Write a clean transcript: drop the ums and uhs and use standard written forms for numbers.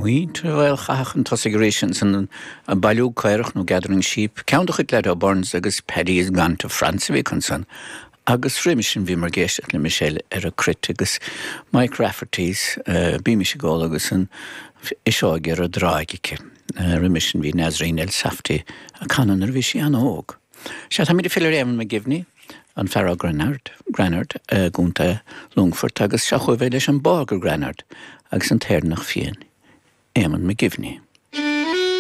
Muintir Mhaol Chatha chun tosaigh arís ansan, Bailiú Caorach nó Gathering Sheep, ceann de chuid Lado Burns agus Paddy is Gone to France a bhí acu ansan. Agus roimis sin bhíomar ag éisteacht le Michelle ar an gcruit agus Mike Rafferty's Bímis ag Ól agus an Fhuiseog ar an dTráigh aici. Roimis sin bhí Nasreen Elsafty ag canadh nuair a bhí sí an-óg. Sea, táimid ag filleadh ar Éamonn McGivney, an fear ó Granard, Granard i gContae Longfoirt agus seo chugaibh é leis an bPágh Granard agus an tÉireannach Fiáin, Éamonn McGivney.